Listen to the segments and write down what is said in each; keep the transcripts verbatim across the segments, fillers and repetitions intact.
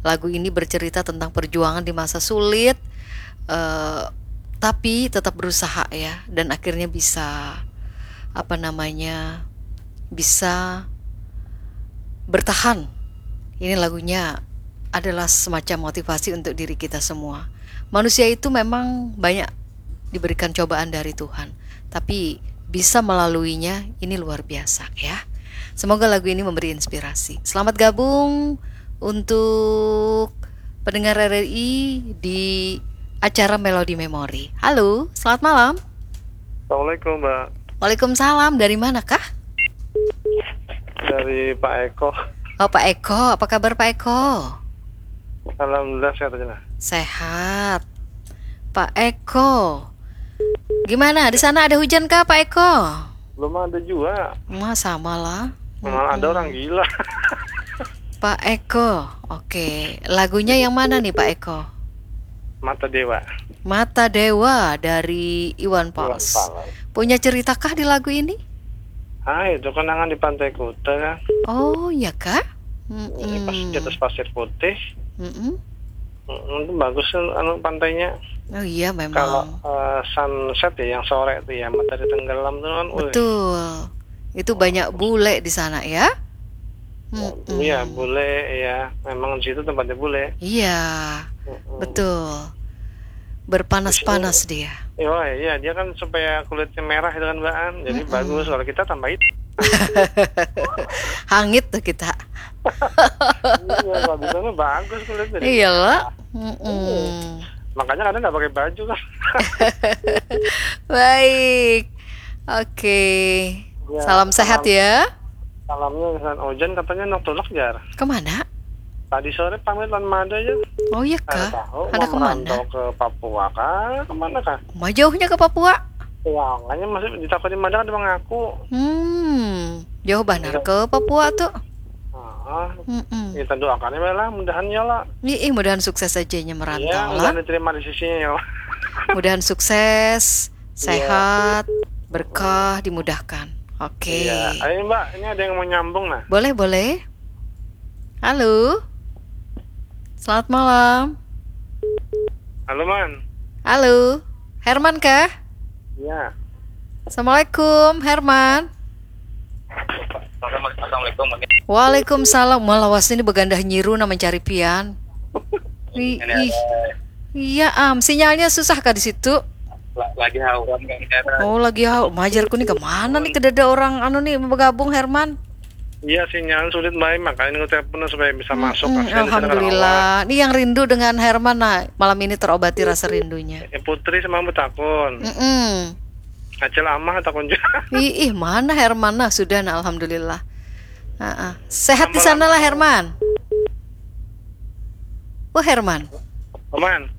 Lagu ini bercerita tentang perjuangan di masa sulit, eh, tapi tetap berusaha ya, dan akhirnya bisa, apa namanya, bisa bertahan. Ini lagunya adalah semacam motivasi untuk diri kita semua. Manusia itu memang banyak diberikan cobaan dari Tuhan, tapi bisa melaluinya, ini luar biasa ya. Semoga lagu ini memberi inspirasi. Selamat gabung untuk pendengar R R I di acara Melody Memory. Halo, selamat malam. Assalamualaikum, Mbak. Waalaikumsalam. Dari mana kah? Dari Pak Eko. Oh, Pak Eko. Apa kabar, Pak Eko? Alhamdulillah, sehat aja lah. Sehat. Pak Eko. Gimana? Di sana ada hujan kah, Pak Eko? Belum ada juga. Wah, sama lah. Malah ada orang gila. Pak Eko. Oke. Lagunya yang mana nih, Pak Eko? Mata Dewa. Mata Dewa dari Iwan Fals. Punya ceritakah di lagu ini? Ah, itu kenangan di Pantai Kuta kan. Oh, ya kah? Ini pas di Mm-mm. atas pasir putih. Mm-mm. Mm, itu bagus kan, anu, pantainya. Oh iya, Kalau memang. Eh, sunset ya, yang sore itu ya, matahari tenggelam tuh kan. Wih, Betul. Itu banyak bule di sana ya? Mm-mm. Iya, bule ya. Memang di situ tempatnya bule. Iya, Mm-mm. Betul. Berpanas-panas dia. Iya, iya, dia kan supaya kulitnya merah itu kan, Mbak An. Jadi Mm-mm. Bagus. Kalau kita tambah hitam. Hangit tuh kita. Iya, kalau di sana bagus kulitnya. Iya lah. Mm-mm. Makanya kadang nggak pakai baju kan. Baik. Oke. Ya, Salam sehat salam. Ya. Salamnya San Ojan katanya nok tulak, jar. Kemana? Tadi sore pamit lawan mada aja. Oh iya Ada kah? tahu Ada mau kemana? Merantau ke Papua kah? Kemana kah? Mau jauhnya ke Papua? Ya, makanya masih ditakoni mada kada mengaku. Hmm, jauh banar ke Papua tuh. Ah, Mm-mm. Kita doakan ya lah, mudahan ya lah. Ih, ih, mudahan sukses aja nya merantau Ya, lah. Mudahan diterima di sisinya ya. Mudahan sukses, sehat, berkah, dimudahkan. Oke. Iya. Ayo Mbak, ini ada yang mau nyambung nah. Boleh, boleh. Halo. Selamat malam. Halo Man. Halo. Herman kah? Iya. Assalamualaikum, Herman. Assalamualaikum. Waalaikumsalam. Malah wasni ini begandah nyiru nah mencari pian. Ih, ih. Iya am, sinyalnya susah kah di situ? Lagi hauran kan. Oh lagi hau, majarku nih kemana nih kedada orang anu nih bergabung Herman? Iya, sinyal sulit baik, makanya ini telepon supaya bisa masuk. Mm-mm, Kasihan di sana Alhamdulillah. Ini yang rindu dengan Herman nah malam ini terobati rasa rindunya. Ya, Putri sama betakun. Mm-mm. Acil Amah takun juga. Ih, ih, mana Herman nah sudah nah alhamdulillah. Heeh. Sehat di sana lah Herman. Oh Herman. Aman.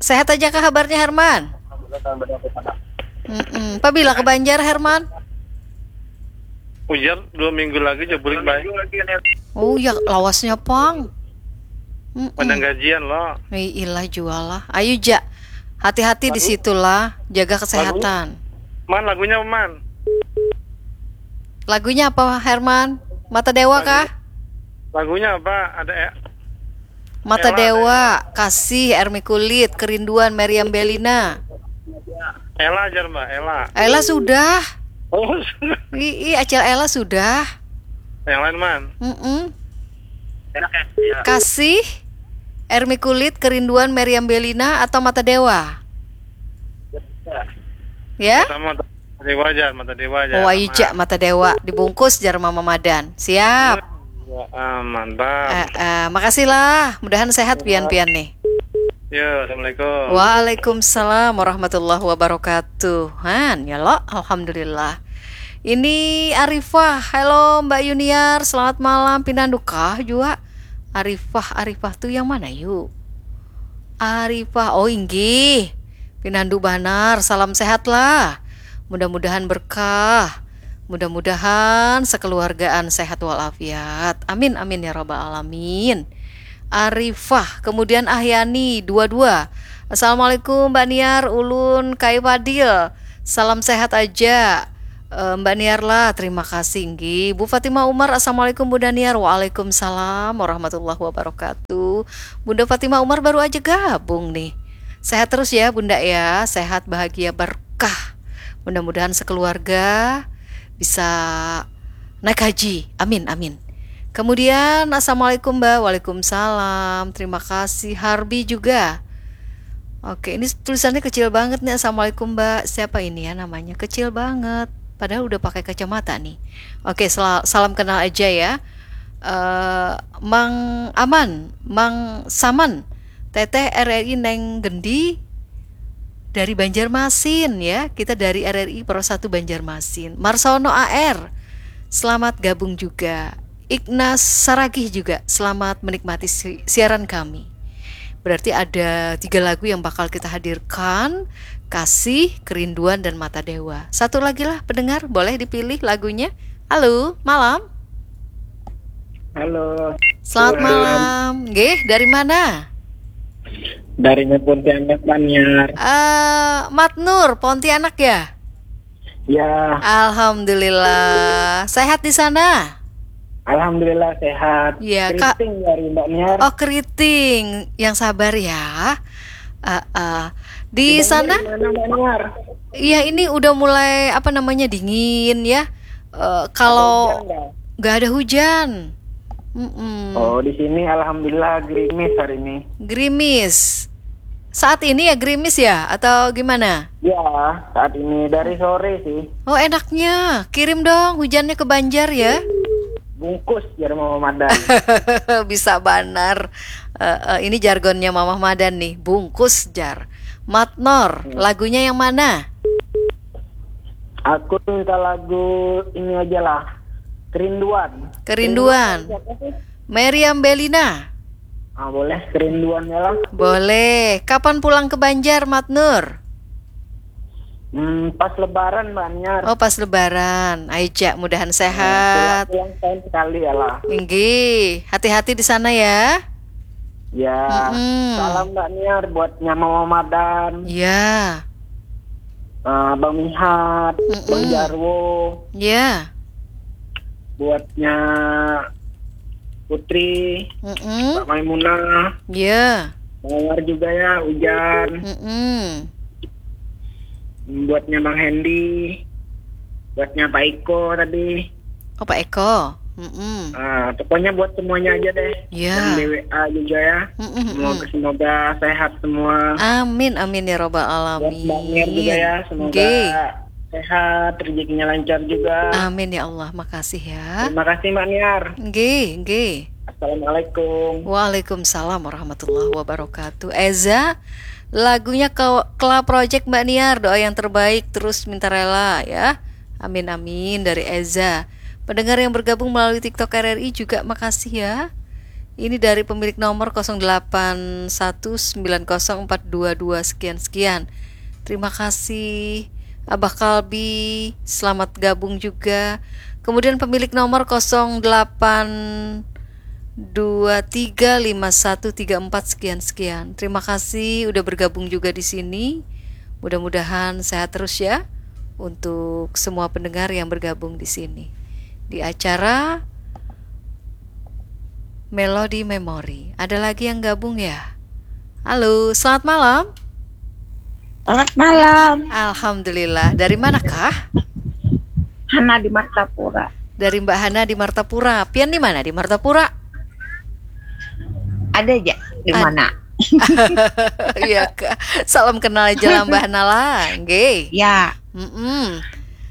Sehat aja kah kabarnya Herman? Mm-mm. Pabila ke Banjar Herman? Ujar dua minggu lagi aja bulik baik. Oh ya lawasnya pang. Mm-mm. Padang gajian lo. Ih, ilah jual lah. Ayo ja. Hati-hati di situ lah. Jaga kesehatan. Man, lagunya apa, Man? Lagunya apa Herman? Mata Dewa kah? Lagunya apa? Ada eh, Mata Ella, Dewa, Kasih, Ermi Kulit, Kerinduan, Meriam Belina. Ella aja Mbak, Ella. Ella sudah. Oh, Ih, ih, Acil Ella sudah. Yang lain Man. Mm-mm. Enak ya? Iya. Kasih, Ermi Kulit, Kerinduan, Meriam Belina atau Mata Dewa? Ya? Sama Mata Dewa aja, Mata Dewa aja. Oh, ayo Sama. ja Mata Dewa dibungkus jar Mama Madan. Siap. Ya, ah, mantap. Eh, eh, makasih lah. Mudahan sehat pian-pian nih. Yo, assalamualaikum. Waalaikumsalam warahmatullahi wabarakatuh. Han, ya lo, alhamdulillah. Ini Arifah. Halo Mbak Yuniar, selamat malam. Pinandu kah jua? Arifah, Arifah tuh yang mana yuk? Arifah, oh inggih. Pinandu banar, salam sehat lah. Mudah-mudahan berkah. Mudah-mudahan sekeluargaan sehat walafiat. Amin, amin ya rabbal alamin. Arifah, kemudian Ahyani, dua dua. Assalamualaikum Mbak Niar, ulun Kai Fadil. Salam sehat aja. Eh, Mbak Niar lah, terima kasih nggih. Bu Fatimah Umar, Assalamualaikum Bunda Niar. Waalaikumsalam warahmatullahi wabarakatuh. Bunda Fatimah Umar baru aja gabung nih. Sehat terus ya Bunda ya, sehat, bahagia, berkah. Mudah-mudahan sekeluarga bisa naik haji. Amin, amin. Kemudian, Assalamualaikum Mbak. Waalaikumsalam. Terima kasih. Harbi juga. Oke, ini tulisannya kecil banget nih. Assalamualaikum Mbak. Siapa ini ya namanya? Kecil banget. Padahal udah pakai kacamata nih. Oke, sel- salam kenal aja ya. Eh, Mang Aman, Mang Saman. Teteh R R I Neng Gendi dari Banjarmasin ya. Kita dari R R I Pro satu Banjarmasin. Marsono A R. Selamat gabung juga. Ignas Saragih juga, selamat menikmati si- siaran kami. Berarti ada tiga lagu yang bakal kita hadirkan, Kasih, Kerinduan, dan Mata Dewa. Satu lagi lah pendengar, boleh dipilih lagunya. Halo, malam. Halo. Selamat malam. Nggih, dari mana? Dari Pontianak, Mbak Niar. Eh, Mat Nur, Pontianak ya? Ya, Alhamdulillah. Sehat di sana? Alhamdulillah sehat. Ya, Kak. Keriting dari Mbak Niar. Oh, keriting. Yang sabar ya. Eh, eh. Di Mbak sana? Niar, di mana, Mbak Niar? Iya, ini udah mulai, apa namanya, dingin ya. Eh, kalau Hujan nggak? Nggak ada hujan. Mm-mm. Oh, di sini alhamdulillah gerimis hari ini. Gerimis. Saat ini ya gerimis ya, atau gimana? Ya, saat ini dari sore sih. Oh, enaknya. Kirim dong hujannya ke Banjar ya. Bungkus, jar Mama Madan. Bisa banar. Eh, eh, ini jargonnya Mamah Madan nih, bungkus jar. Matnor, lagunya yang mana? Aku minta lagu ini aja lah. Kerinduan. Kerinduan. Siapa sih? Meriam Belina. Ah, boleh kerinduan ya lah. Boleh. Kapan pulang ke Banjar, Matnur? Hmm, pas lebaran, Mbak Niar. Oh, pas lebaran. Ayo, Cak, mudahan sehat. Pulang, pulang tahun sekali ya lah. Inggih, hati-hati di sana ya. Ya, Mm-mm. Salam Mbak Niar buatnya Mama Madan, Ya. eh, Bang Mihat, Mm-mm. Bang Jarwo, Ya. buatnya Putri, Mm-mm. Mbak Maimunah, Ya. Mawar juga ya, Ujan, Mm-mm. buatnya Bang Hendy, buatnya Pak Iko tadi. Oh, Pak Eko. Mm-mm. Ah, pokoknya buat semuanya aja deh. Ya. Dan D W A juga ya. Mm-mm, Semoga, semoga sehat semua. Amin, amin ya robbal Buat alamin. Mbak Niar juga ya, semoga Nggih. Sehat, rezekinya lancar juga. Amin ya Allah, makasih ya. Terima kasih Mbak Niar. Nggih, nggih. Assalamualaikum. Waalaikumsalam warahmatullahi wabarakatuh. Eza, lagunya Ke- Kela Project Mbak Niar, doa yang terbaik terus minta rela ya. Amin amin dari Eza. Pendengar yang bergabung melalui TikTok R R I juga makasih ya. Ini dari pemilik nomor kosong delapan satu sembilan kosong empat dua dua sekian sekian. Terima kasih Abah Kalbi, selamat gabung juga. Kemudian pemilik nomor kosong delapan dua tiga lima satu tiga empat sekian sekian. Terima kasih udah bergabung juga di sini. Mudah-mudahan sehat terus ya untuk semua pendengar yang bergabung di sini. Di acara Melody Memory. Ada lagi yang gabung ya? Halo, selamat malam. Selamat malam, Alhamdulillah. Dari manakah? Hana di Martapura. Dari Mbak Hana di Martapura. Pian di mana di Martapura? Ada aja di Ad- mana? Iya kak. Salam kenal aja lah Mbak Hana lah. Nggih. Ya, Mm-mm.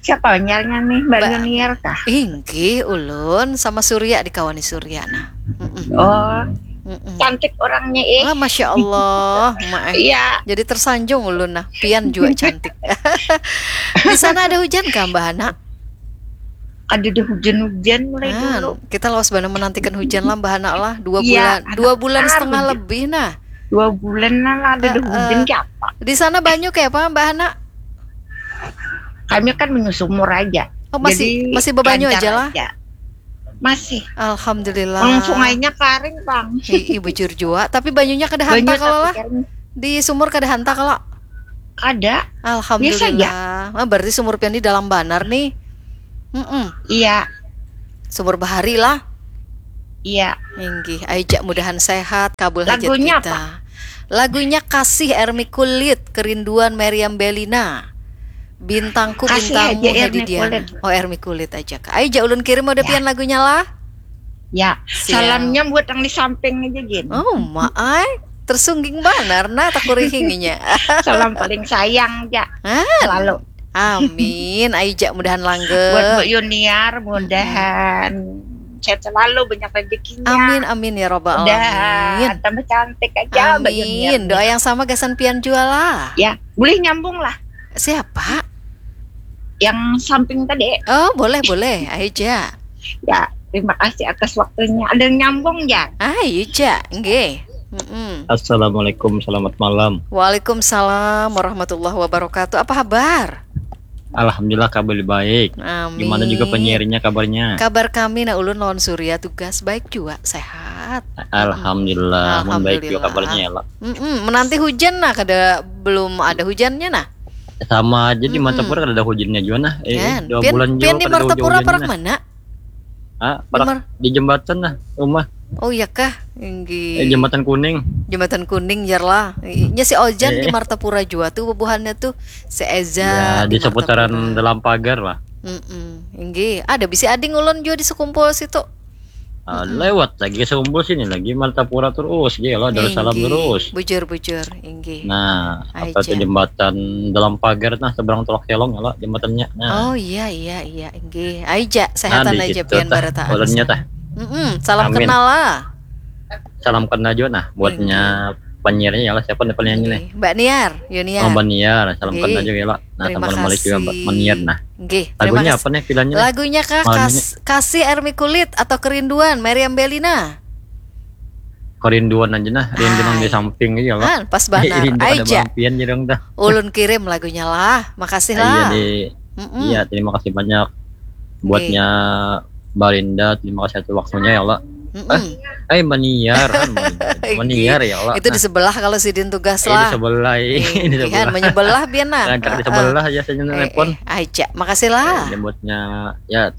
Siapa nyarnya nih, Mbak Mbak- Yuniar kah? Inggih, ulun sama Surya, dikawani Surya nah. Mm-mm. Oh, Mm-mm. Cantik orangnya eh. Ah, Masya Allah, Mak, eh. Iya, Jadi tersanjung ulun nah, pian juga cantik. Di sana ada hujan kah Mbak Hana? Ada deh hujan-hujan mulai Nah, dulu. Kita lawas banar menantikan hujan lah Mbak Hana lah, dua Iya, bulan, anak dua bulan baru setengah hujan. Lebih nah. Dua bulan lah ada Eh, hujan eh. siapa? Di sana banyu kayak apa Mbak Hana? Kami kan menyusumur aja. Oh, masih- Jadi, masih bebanyu lancar aja lah? Masih. Alhamdulillah. Kalau sungainya kering, Bang. Ih, ih, bujur jua. Tapi banyunya kada Banyu hantak kalau tapi lah. kering. Di sumur kada hantak kalau. Ada. Alhamdulillah. Ah, berarti sumur pian di dalam banar nih. Mm-mm. Iya. Sumur Bahari lah. Iya. Inggih, aja mudahan sehat, kabul hajat Lagunya kita. Lagunya Kasih, Ermi Kulit, Kerinduan, Meriam Bellina. Bintangku Kasih bintangmu aja, Hedi Ermi Diana. Kulit. Oh, Ermi Kulit aja kak. Aja ulun kirim udah pian lagunya lah. Ya, Siap. Salamnya buat yang di samping aja gin. Oh, maai. Tersungging banar nah takurihinginya. Salam paling sayang ja. Ah, Selalu. Amin. Aja mudahan Buat langgeng. Mbak Yuniar, mudahan sehat selalu, banyak rezekinya. Amin amin ya robbal Mudahan alamin. Tambah cantik aja Mbak Yuniar. Amin. Doa yang sama gasan pian jua lah. Ya, boleh nyambung lah Siapa? Yang samping tadi. Oh, boleh boleh. Aja. Ya, terima kasih atas waktunya. Ada yang nyambung ya? Aja. Nggih. Mm-mm. Assalamualaikum, selamat malam. Waalaikumsalam warahmatullahi wabarakatuh. Apa kabar? Alhamdulillah kabar baik. Amin. Gimana juga penyiarnya kabarnya? Kabar kami nah ulun lawan Surya tugas baik juga, sehat. Alhamdulillah, mun baik juga Alhamdulillah. Kabarnya ya lah. Mm-mm. Menanti hujan nah kada belum ada hujannya nah. Sama aja di Mm-mm. Martapura kada ada hujannya juga nah. Eh, Kan? dua Pian, bulan pian juga di kada ada Martapura hujan-hujannya parak nah. Mana? Ah, Di parak Mar- di jembatan nah, rumah. Oh iya kah? Inggih. Eh, jembatan kuning. Jembatan kuning jar lah. Nya si Ojan di Eh. Martapura jua tuh bubuhannya tuh si Eza Ya, di seputaran Martapura. Dalam Pagar lah. Mm-mm. Inggih. Ada bisi ading ulun juga di sekumpul situ. Ah, lewat lagi sekumpul sini lagi Martapura terus, ya lah Darussalam Inggih. Terus. Bujur bujur. Inggih. Nah, apa Aja. Itu jembatan Dalam Pagar nah seberang Teluk Kelong ya lah jembatannya. Nah. Oh iya iya iya. Inggih. Aja sehatan Nah, di aja situ pian tah, barataan. ulunnya tah. Mm-mm. Salam Amin. Kenal lah. Salam kenal juga nah buatnya penyiarnya ya lah siapa nih penyiarnya nih? Inggih. Mbak Niar, Yuniar. Oh, Mbak Niar, salam Inggih. kenal juga ya lah. Nah, Terima sama Malik juga kasih. Mbak Niar nah. Inggih, terima Lagunya kasih. Apa nih pilihannya? Lagunya kah Malam Kas- Kasih Ermi Kulit atau Kerinduan Meriam Bellina? Kerinduan aja nah, rindu nang di Hai. Samping aja lah. Ah, pas banar. Rindu kada Aja. Bang Pian jirang dah. Ulun kirim lagunya lah. Makasih Iya lah. di Mm-mm. Iya, terima kasih banyak buatnya Barinda, terima kasih atas waktunya ya Allah. Mm-mm. Eh, Maniar kan, Maniar ya Allah. Itu di sebelah kalau sidin tugas Eh, di lah. sebelah, eh, di Iya, sebelah. Menyebelah biar nah. Nah, di Heeh. sebelah aja saya Eh, nelpon. eh, aja. Makasih lah. Eh, buatnya ya,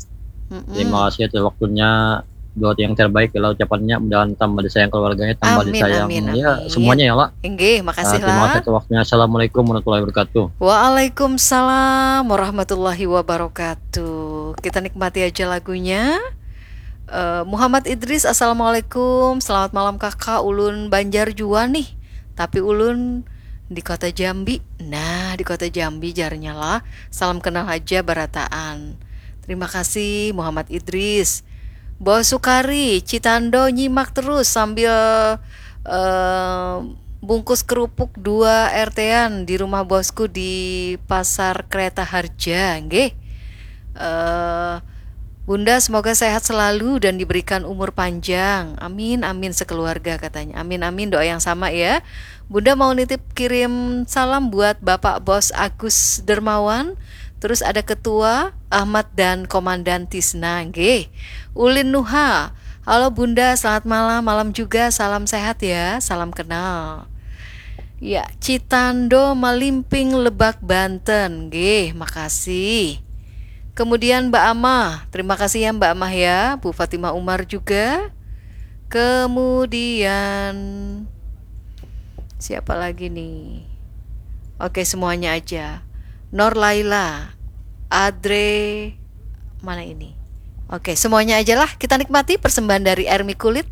Mm-mm. terima kasih atas waktunya. Doa yang terbaik ya Allah ucapannya, mudahan tambah disayang keluarganya, tambah Amin, disayang amin, ya amin. Semuanya ya Allah. Inggih, makasih Ah, terima kasih lah. Atas waktunya. Assalamualaikum warahmatullahi wabarakatuh. Waalaikumsalam warahmatullahi wabarakatuh. Kita nikmati aja lagunya. Eh, Muhammad Idris, assalamualaikum. Selamat malam kakak. Ulun Banjar jua nih. Tapi ulun di kota Jambi. Nah, di kota Jambi jarnya lah. Salam kenal aja barataan. Terima kasih Muhammad Idris. Bos Sukari, Citando nyimak terus sambil eh, bungkus kerupuk dua RT-an di rumah bosku di Pasar Kereta Harja, nggih. Eh, Bunda semoga sehat selalu dan diberikan umur panjang. Amin amin sekeluarga katanya. Amin amin doa yang sama ya. Bunda mau nitip kirim salam buat Bapak Bos Agus Dermawan, terus ada Ketua Ahmad dan Komandan Tisna, nggih. Ulin Nuha, halo Bunda, selamat malam, malam juga, salam sehat ya, salam kenal. Ya, Citando Malimping Lebak Banten, nggih, makasih. Kemudian Mbak Amah, terima kasih ya Mbak Amah ya, Bu Fatimah Umar juga. Kemudian siapa lagi nih? Oke, semuanya aja. Nor Laila, Adre, mana ini? Oke, semuanya aja lah. Kita nikmati persembahan dari Ermi Kulit,